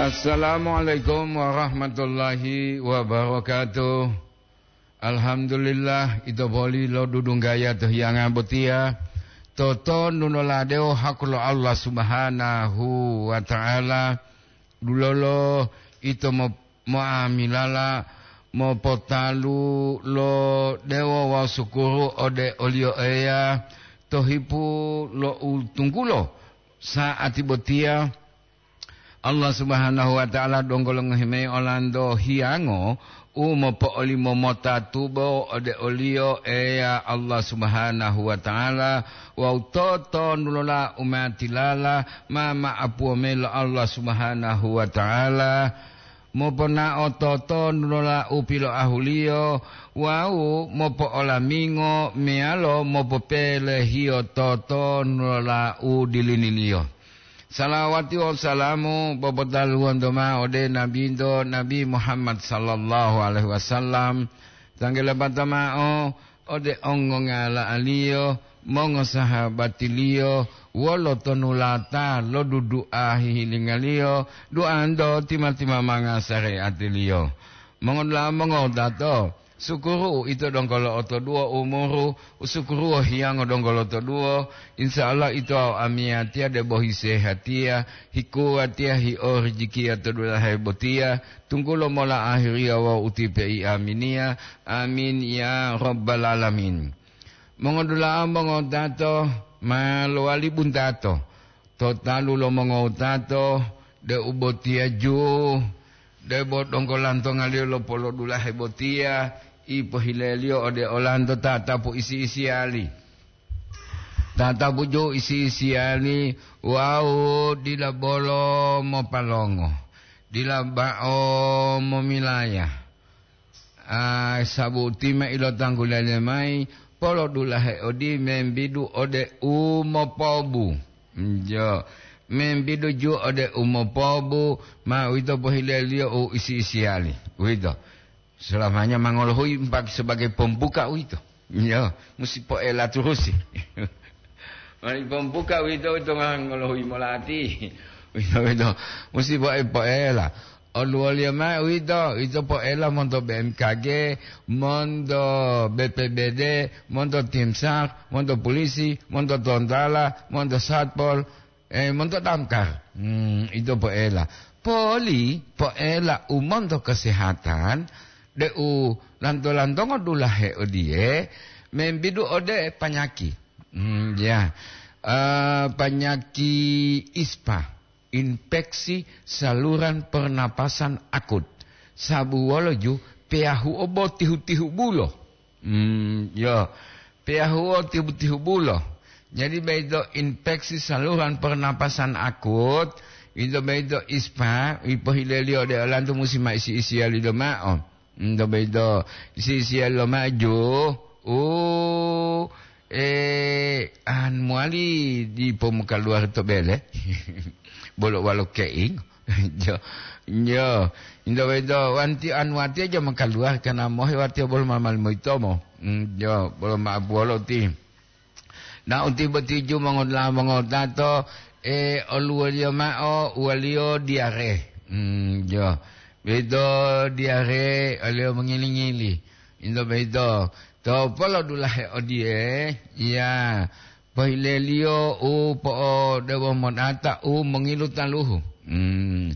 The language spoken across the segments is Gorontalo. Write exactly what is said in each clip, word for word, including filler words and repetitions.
Assalamualaikum warahmatullahi wabarakatuh. Alhamdulillah, ito boli lo dudunggaya to hiyanga botiya. Totondu noladewo haku lo Allah Subhanahu wa Ta'ala. Dulolo ito mo-, moamilala mopotalu lo dewo wawu sukuru ode oliyo Eya to hipu lo utunggulo sa'ati botiya. Allah Subhanahu wa Ta'ala donggo longohi mayi olanto hiyango u mopo'olimo mota tubo ode o-Liyo Eya Allah Subhanahu wa Ta'ala wawu totondulola umatilala ma ma'apuwo mayi lo Allah Subhanahu wa Ta'ala, moponao totondulola u piloahuliyo wawu mopo'olamingo meyalo mopopelehiyo totondulola u diliniliyo. Salawati wawu salamu popotaluwanto mao ode Nabinto, Nabi Muhammad sallallahu alaihi wasallam, tanggelapata mao ode ongongala'aliyo, mongosahabatiliyo, wolo tonulata lo dudu'a hihilingaliyo, duanto tima-timamanga sareatiliyo. Mongodula'a mongotato, sukuru ito donggo lo'otoduwo umuru, usukuruwo hiyango donggo lotoduwo, insya Allah ito wawu amiyatiya debo hisehatiya, hikuwatiya, hiorijikiya to dulahe botiya, tunggulo mola ahiriya wawu utipe'i aminiya. Amin ya rabbal alamin. Mongodula'a mongotato ma lowali buntato to talu lo mongotato, deu botiya ju, debo donggo lantongaliyo lopolodulahe botiya, ipohileliyo ode olanto tatapu isi-isiyali. Tatapu ju isi-isiyali wawu dila bolo mopalongo, dila bao momilaya. Ah, sabuti ma ilotanggulaliyo mayi, polodulahe odi membidu ode u mopobu. Jo, membidu ju ode u mopobu, ma uwito pohileliyo u isi-isiyali. Uwito. Selamanya ma ngolohuyi mpaki sebagai pembuka uwito. Iyo, musi poela turusi. Mani pembuka uwito, uwito ma ngolohuyi molati. Uwito, uwito, musi poe-, poela. Oluwoliyo mao uwito, uwito poela monto B M K G, monto B P B D, monto Timsar, monto pulisi, monto tontala, monto satpol, eh, monto damkar. Hmm, ito poela. Poli poela u monto kesehatan, deu lanto-lantongo dulahe odiye, membidu ode panyaki. Hmm, ya. Eh, panyaki ispa, infeksi saluran pernapasan akut. Sabu wolo ju peyahuo bo tihu-tihu bulo. Hmm, yo. Peyahuo tihu-tihu bulo. Jadi, boyito infeksi saluran pernapasan akut, ito boyito ispa, ipohileliyo ode olanto musi ma isi-isiyaliyo mao. Ito boyito isi-isiyaliyo mao ju, u, eh, an mowali dipo mokaluwari to bele. Bolo walo keing. Jo, jo. Ito boyito wanti anu watiya ja mokaluwari kana mohe watiya bolo ma-, mali moyitomo. Mm, jo, bolo ma'apuwolo ti. Na uti boti ju mongola-, mongotato, eh, oluwoliyo mao, uwaliyo diare. Mm, jo. Boyito diare, oliyo mongili-ngili. Ito boyito. To polodulahe odiye, ya. Pohileliyo u po'odewo modata u mongilu taluhu. Hmm.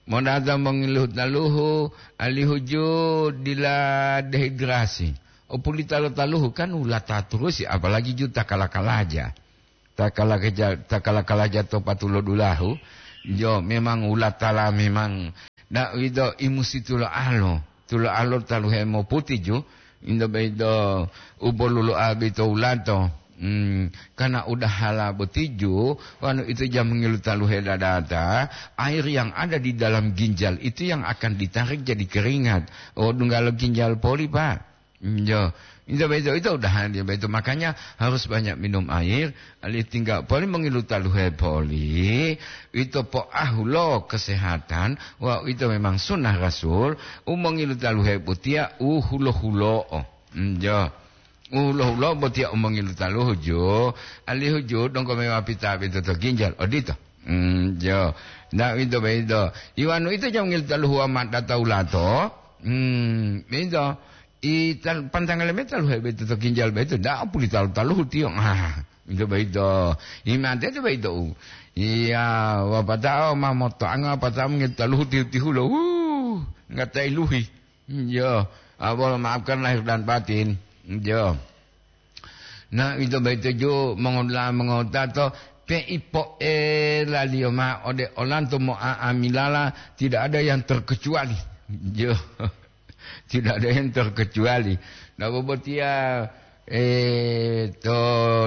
Modata mongilu taluhu, alihu ju dila dehidrasi. Opulita lo taluhu kan wulata turusi, apalagi ju ta kala-kalaja. Ta kala-, ta kala-kalaja to patulo dulahu, jo memang wulatala memang. Da'uwito imusi tulo'alo. Tulo'alo taluhe moputi ju, ito boyito u polulu'a boyito wulato. Hmm, karena udahala boti ju, wonu ito ja mongilu taluhe dadata, air yang ada di dalam ginjal itu yang akan ditarik jadi keringat. Oh, dunggalo ginjal poli, Pak. Jo, ito boyito, ito udahala boyito. Makanya harus banyak minum air, Alihu tingga poli mongilu taluhe poli, ito poahulo kesehatan, wawu ito memang sunnah Rasul, u mongilu taluhe botiya u hulo-hulo'o. Njo. U hulo-hulo'o botiya u mongilu taluhu ju, alihu ju donggo mewa pita pito to ginjal. Odito. Hmm, jo. Nah, itu begitu. Iwanu itu jam ngil taluhu amat datau lato. Hmm, itu. I tal-, pantangale me taluhe beto to ginjal beto, ndak puli talu-taluhu tiyo. Ah, itu begitu. Imate itu begitu. Iya, wapatao ma motoanga, wapatao ngil taluhu tihu-tihulo. Uh, nggak tailuhi. Iya, ah, Allah maafkan lahir dan batin. Iya. Nah, itu begitu ju mongodula mongotato, pe ipo'elaliyo ma'o ode olanto mo'a'amilala, tidak ada yang terkecuali. Iya. Tidak ada yang terkecuali. Nah, bobotiya, eh, to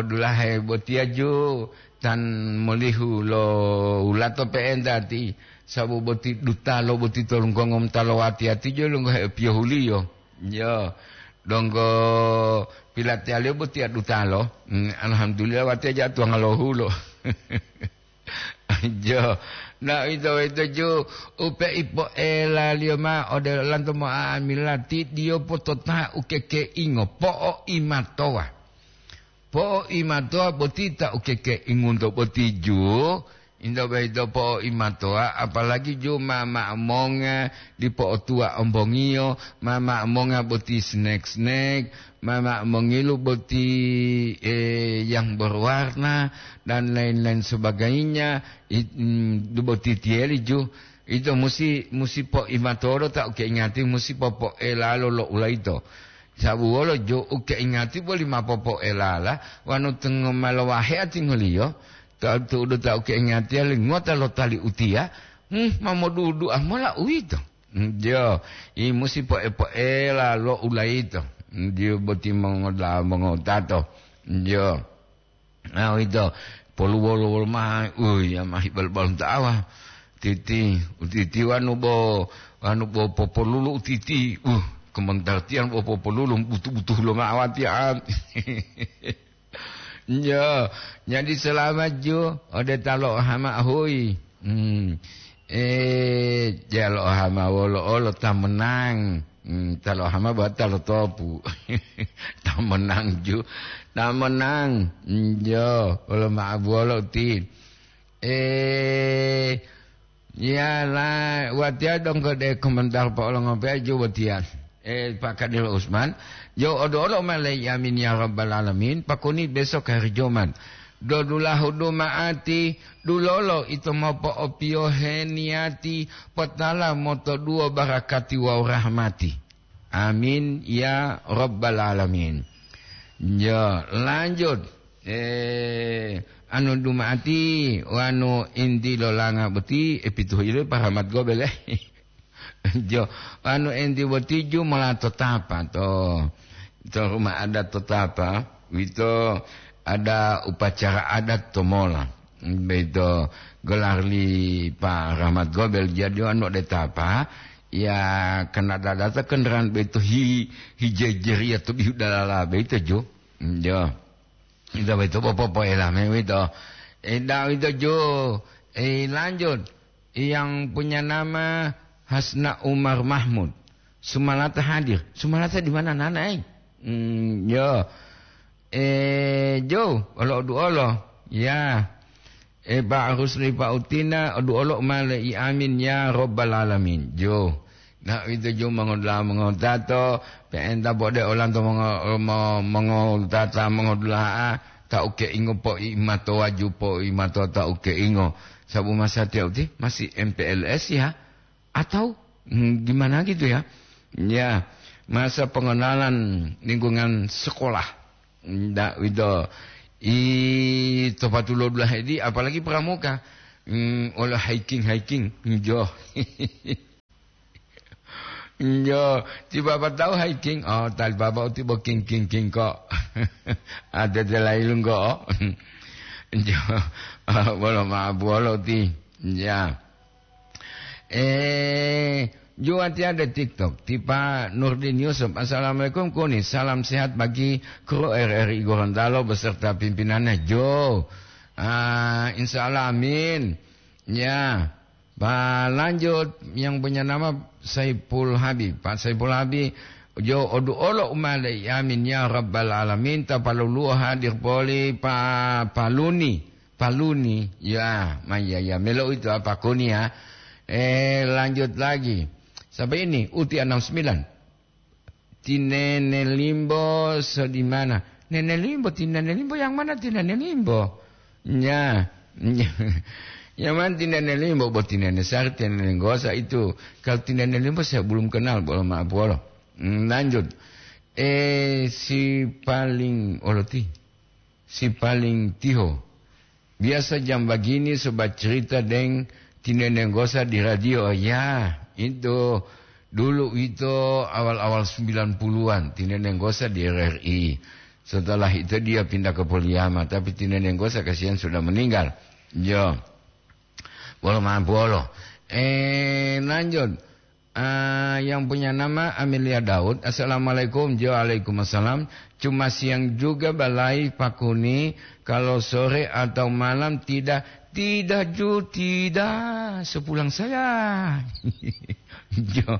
dulahe botiya ju tan molihu lo ulato pe'enta ti, sabu boti dutalo boti tolungkongo mutalo wati-ati ju lunggo hepiyohuliyo. Yo, donggo pilatiyaliyo botiya dutalo. Hmm, alhamdulillah watiya ja tuwanga lohulo. Jo, na ito-ito ju upe ipo'elaliyo ma'o ode olanto mo'a'amila ti diyo potota ukekeingo, po'oimatowa. Po'oimatowa boti ta ukekeingunto boti ju, into boyito po'oimatowa, apalagi ju ma ma'amonga dipo otuwa ombongiyo, ma ma'amonga boti snack-snack, ma ma'amongilu boti, eh, yang berwarna, dan lain-lain sebagainya, it-, mm, boti tiyeli ju. Ito musi, musi po'imatolo ta ukeingati, musi popo'elalo lo ulaito. Sabu wolo jo ukeingati boli ma popo'elala, wanu tengo ma lowahe atingoliyo, ta tu'udu ta ukeingatiya li ngota lo tali utiya, hmm, ma modudu'a mola uwito. Hmm, jo, i musi po'e-po'ela lo ulaito. Hmm, jo boti mongoda-, mongotato. Hmm, jo. Ah, uwito, poluwolo-wolo mao, uy, ya mahi bal-, balum ta'awa. Titi, utiti wanu bo, wanu bo popolulu utiti, uh, kementartian bo popolulu, butu-butu lo ma'awati, ah. Yo, jadi selamat ju, ode talo hama hui. Hmm. Eh, jalo hama wolo olo ta menang. Hmm, talo hama ba talo topu. Ta menang ju. Ta menang. Hmm, jo, wolo ma'abuwolo ti. Eh, ya la, watiya donggo de komentar po olongope ju watiya. Eh, Pak Kadir Usman, jo odo-odo ma le yamin ya rabbal alamin, pakuni besok hari Jumat. Dodulahu duma'ati, dulolo ito mopo'opiyohe niyati, potala motoduwo barakati wawu rahmati. Amin ya rabbal alamin. Ya, lanjut. Eh, anu duma'ati, wanu inti lolanga boti, eh, pituhu ile paramat gobel, eh. Jo, anu enti boti ju mola to Tapa to, to rumah adat to Tapa, wito ada upacara adat to mola. Beito gelar li Pak Rahmat Gobel. Jadi anu de Tapa, ya kena dadata kendaraan beito hi, hi jejeria to bihu dalala beito ju. Jo. Ito beito popo elame wito. Eda wito ju. Eh, lanjut. Yang punya nama Hasna Umar Mahmud. Sumalata hadir. Sumalata di mana, Nana, eh? Hmm, yo. Eh, jo, olo du olo. Ya. Eh, Pak Rusli, Pak Utina, du olo male i amin ya rabbal alamin. Jo. Na ito jo mongodula'a mongotato, pe'enta bode olanto mongo-, mo-, mongotata mongodula'a, ta uke ingo po i mato waju po i mato ta uke ingo. Sabu masatiya uti masih M P L S ya? Atau, hmm, gimana gitu ya? Ya, masa pengenalan lingkungan sekolah. Ndak wito. I topatulo dulahe di, apalagi pramuka. Hmm, ola hiking-hiking. Jo. Jo, ti baba tahu hiking? Oh, tali baba uti bo king, king, king kok. Ada de lain kok. Jo, bolo ma bolo ti. Ya. Eh, juwati ada TikTok, ti Pak Nurdin Yusuf. "Assalamualaikum, Kuni. Salam sehat bagi kru R R I Gorontalo beserta pimpinannya." Jo. Ah, insya Allah, amin. Ya. Pak, lanjut, yang punya nama Saiful Habib. Pak Saiful Habib, jo odu olo umale, amin ya rabbal alamin. Tapaluluo hadir poli Pak Paluni. Paluni, ya, ma-, ya, ya, melo itu apa kuni ya. Eh, lanjut lagi. Sampai ini, Uti enam sembilan. Ti Nene Limbo sedimana? Nene Limbo, ti Nene Limbo yang mana ti Nene Limbo? Ya, yang mana ti Nene Limbo? Buat ti Nene Sari, ti Nene Gosa itu. Kalau ti Nene Limbo saya belum kenal, bolo maaf, bolo. Hmm, lanjut. Eh, si paling oloti. Si paling tiho. Biasa jam bagini sobat cerita deng tinenenggosa di radio. Ya, itu dulu itu awal-awal sembilan puluhan, tinenenggosa di R R I. Setelah itu dia pindah ke Poliama, tapi tinenenggosa kasihan sudah meninggal. Yo. Bolo ma'o bolo. Eh, lanjut. Ah, yang punya nama Amelia Daud. "Assalamualaikum." Jo, "Waalaikumsalam." "Cuma siang juga balai Pakuni, kalau sore atau malam tidak." "Tidak, Ju, tidak. Sepulang saya." Jo.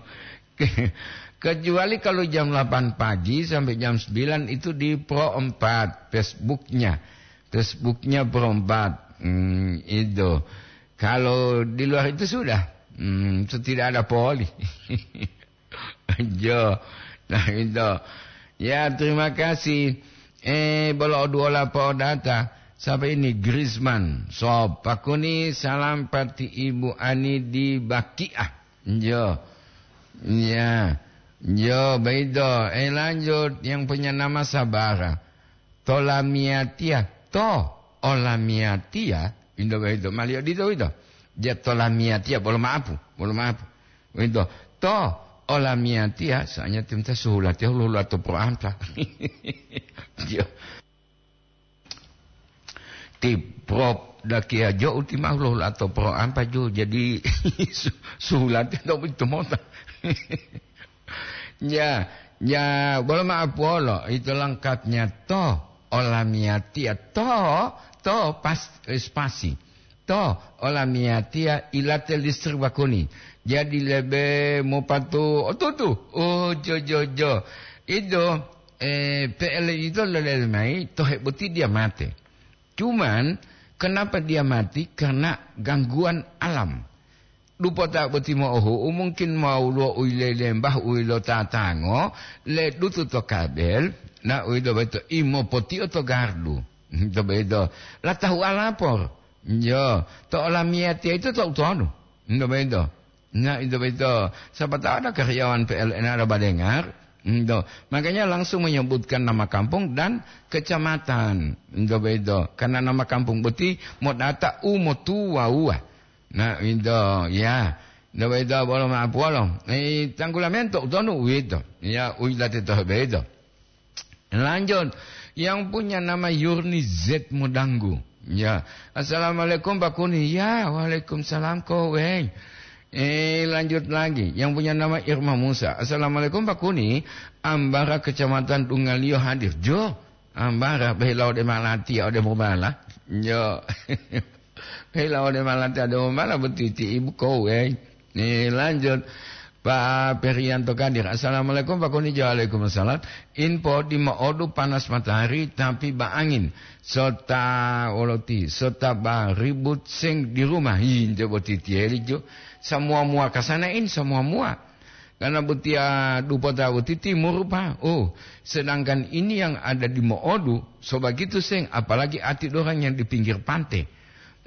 Kecuali kalau jam delapan pagi sampai jam sembilan itu di Pro empat, Facebooknya. Facebooknya Pro empat. Hmm, itu. Kalau di luar itu sudah, hmm, itu tidak ada poli. Jo. Nah, itu. Ya, terima kasih. Eh, bolo oduola po data. Siapa ini? Griezmann. So, Pakuni, salam pati Ibu Ani di Bakiah. Jo. Ya. Jo, baido. Eh, lanjut. Yang punya nama Sabara. Tolamiatia. To, olamiatia. Indo baido. Malio dito, ito. Dia tolamiatia. Bolo maapu. Bolo maapu. Ito. To, olamiatia. Soalnya tim ta suhulatia, hulu-hulu atau pro anta. Dia. Ti prop dakia jo uti mau lo lato pro ampa jo. Jadi su-, suhulate to itu mota. Ya, ya, bolo ma'o puolo, itu lengkapnya to, olamiatia to, to pas, eh, spasi. To, olamiatia ilate listrik bakuni. Jadi lebe mopatu otutu. Oh, jo, jo, jo. Itu, eh, P L itu lele mai, tohe boti dia mate. Cuman, kenapa dia mati? Karena gangguan alam. Dupota boti mo'ohu'u, mungkin mau lo uile lembah, uilo tatango, le dutu to kabel, na uido beto imo potio to gardu. To bedo. La tahu alapor. Yo, to olamiyatiya itu to utonu. To bedo. Nah, itu betul. Siapa tahu ada karyawan P L N ada badengar. Itu. Makanya langsung menyebutkan nama kampung dan kecamatan. Itu betul. Karena nama kampung boti modata umotuwawa. Nah, itu, ya. Itu betul, bolo maaf, bolo. Eh, tanggulamento, utonu, itu. Ya, uidate toh betul. Lanjut, yang punya nama Yurni Z Modanggu. Ya, "Assalamualaikum, Pak Kuni." "Ya, waalaikumsalam, koweng." Eh, lanjut lagi, yang punya nama Irma Musa. "Assalamualaikum, Pak Kuni. Ambara Kecamatan Dungalio hadir." Jo, Ambara, behilau de malati, ode mobala. Jo. Hei, lawane malanta donggo mala botiti ibu kowe. Ni lanjut, Pak Perianto Kadir. "Assalamualaikum, Pak Kuni." "Waalaikumsalam." "Info di mo'odu panas matahari, tapi ba angin. Sota woloti, sota ba ribut seng di rumah." Hi, nte botiti eli jo. Samua mua kasana in, samua mua. Karena botiya dupota boti timur, Pak. Oh, sedangkan ini yang ada di mo'odu, sobagitu seng, apalagi ati dorang yang di pinggir pante.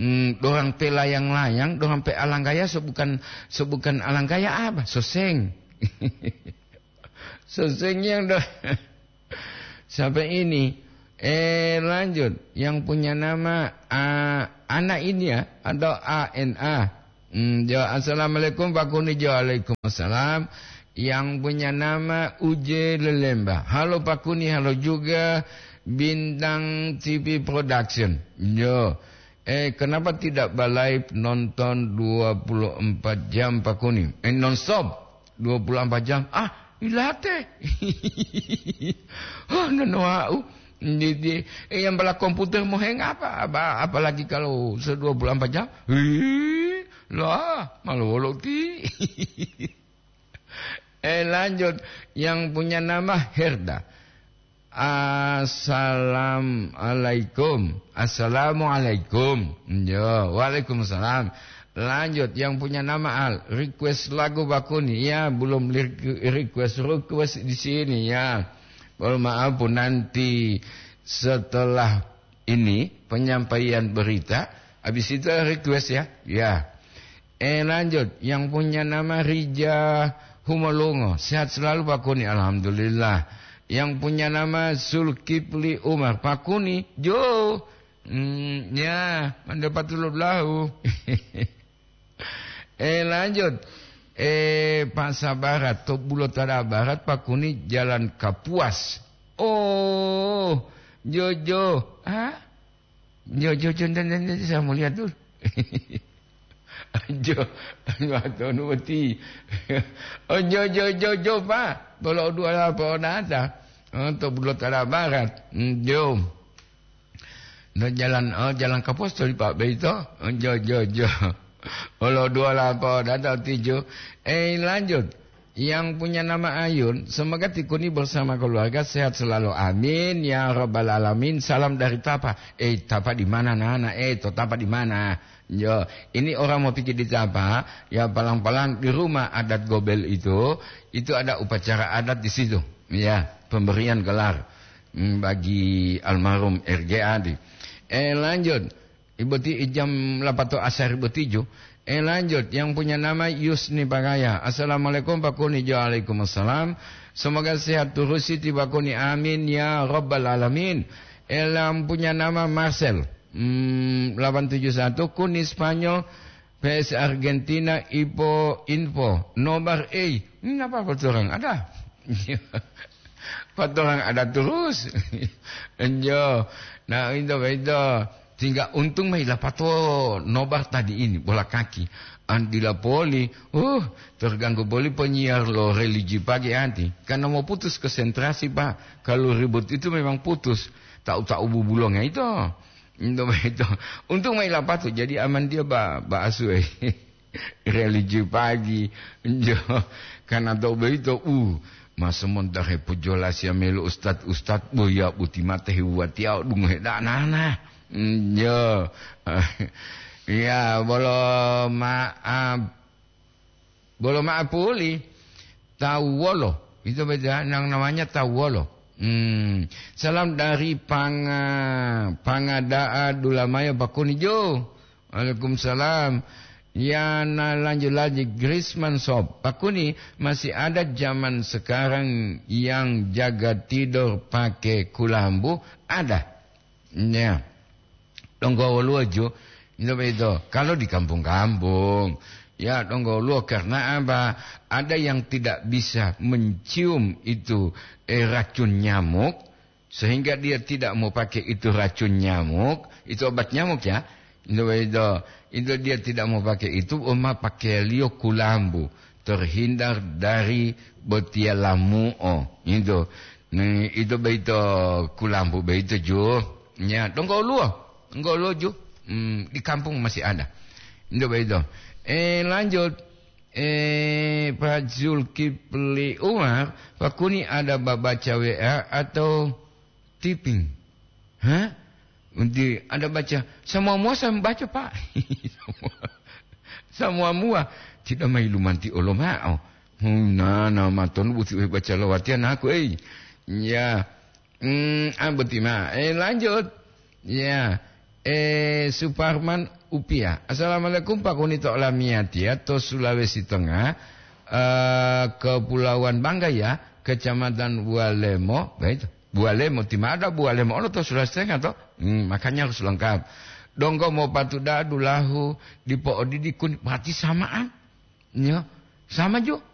Hmm, dorang pe layang-layang, dorang pe alanggaya, so bukan, so bukan alanggaya apa? So seng. So seng yang do-, sampai ini. Eh, lanjut. Yang punya nama, ah, Ana ini ya, atau A N A. Hmm, jo, "Assalamualaikum, Pak Kuni." Jo, "Waalaikumsalam." Yang punya nama Uje Lelemba. "Halo, Pak Kuni, halo juga Bintang T V Production." Jo. "Eh, kenapa tidak ba-live nonton dua puluh empat jam, Pak Kuni?" Eh, nonstop dua puluh empat jam. Ah, ilate. Oh, nono au. Di, di, eh, yang bala komputer moheng apa? Apa, apalagi kalau se-, dua puluh empat jam? Ih, lah, malu wolo ti. Eh, lanjut. Yang punya nama Herda. Assalamualaikum. Assalamualaikum. Yo, waalaikumsalam. Lanjut, yang punya nama Al, request lagu Pak Kuni. Ya, belum li-, request, request di sini ya. Mohon maaf, Bu, nanti setelah ini penyampaian berita, habis itu request ya. Ya. Eh, lanjut, yang punya nama Rija Humolungo. Sehat selalu, Pak Kuni. Alhamdulillah. Yang punya nama Zulkifli Umar. Pak Kuni, jo. Hmm, ya, mande patulud lahu. Eh, lanjut. Eh, Pak Sabarat, to Bulotada Barat, Pak Kuni, Jalan Kapuas. Oh, jo, jo. Hah? Jo, jo, jo, nten, nten, nten, saya mau lihat dulu. Jo, jo, atonu boti. Oh, jo, jo, jo, jo, Pak. Bolo dua la po nata. Oh, to Bulotada Barat. Hmm, jo. No jalan, oh, jalan Kapos to, Pak, beito. Oh, jo, jo, jo. Olo dua la po nata tijo. Eh, lanjut. Yang punya nama Ayun, semoga Tikuni bersama keluarga sehat selalu. Amin, ya rabbal alamin. Salam dari Tapa. Eh, Tapa di mana, Nana? Eh, to Tapa di mana? Yo, ini orang mau pikir di Tapa, ya, palang-palang di rumah adat Gobel itu, itu ada upacara adat di situ. Ya, pemberian gelar, hmm, bagi almarhum R G Adi. Eh, lanjut. Ibu ti jam lapato asar ibu tijo. Eh, lanjut, yang punya nama Yusni Pagaya. Assalamualaikum, Pak Kuni. Waalaikumsalam. Semoga sehat terus, Siti Pak Kuni. Amin, ya rabbal alamin. Eh, yang punya nama Marcel. Hmm, delapan tujuh satu, Kuni Spanyol, P S Argentina, Ipo Info. Nobar, eh. Ini apa, apa orang? Ada. Patorang ada terus. Enjo. Nah, itu, itu. Tinggal untung mai lapato nobar tadi ini, bola kaki. An dila poli, uh, terganggu poli penyiar lo religi pagi anti. Karena mau putus konsentrasi, Pak. Kalau ribut itu memang putus. Tahu-tahu bubulongnya itu. Itu, itu. Untung mai lapato, jadi aman dia, Ba, Ba Asu, eh. Religi pagi, jo, karena to boyito, uh, ma sementara pujolasiya melo ustad-ustad, boya boti mate hewatiya dungohe danana. Mm, jo. Ya, bolo maaf, bolo maaf puli. Tawu wolo, itu beda, yang namanya tawu wolo. Hmm, salam dari Panga-, Pangada'a Dulamayo, Pak Kuni Jo. Waalaikumsalam. Ya, na lanjut lagi, Griezmann Shop. Pak Kuni, masih ada zaman sekarang yang jaga tidur pakai kulambu? Ada. Ya. Donggo woluwo ju, itu begitu. Kalau di kampung-kampung, ya, donggo woluwo, karena apa? Ada yang tidak bisa mencium itu, eh, racun nyamuk, sehingga dia tidak mau pakai itu racun nyamuk, itu obat nyamuk, ya. Itu begitu. Itu dia tidak mau pakai itu, oma pakaianliyo kulambu, terhindar dari botiya lamu'o. Itu. Ni, itu begitu kulambu begitu ju. Ya, donggo woluwo. Donggo woluwo ju. Hmm, di kampung masih ada. Itu begitu. Eh, lanjut. Eh, Pak Zulkifli Umar, Pak Kuni ada babaca W A atau typing? Hah? Nanti ada baca, semua mua saya membaca, Pak. Semua, semua mua. Tidak mai lumanti olo ma'o. Hmm, na, na, maton buti baca lawatian aku, eh. Ya. Hmm, ah, boti ma. Eh, lanjut. Ya. Eh, Suparman Upia. Assalamualaikum, Pak Kuni to olamiyatiya to Sulawesi Tengah. Eh, Kepulauan Bangga ya, Kecamatan Bualemo. Baik. Bualemo, ti ma ada Bualemo olo to Sulawesi Tengah to. Hmm, makanya harus lengkap. Donggo mopatu da'a dulahu dipo'odidi Kuni, berarti samaan. Ya, sama jo.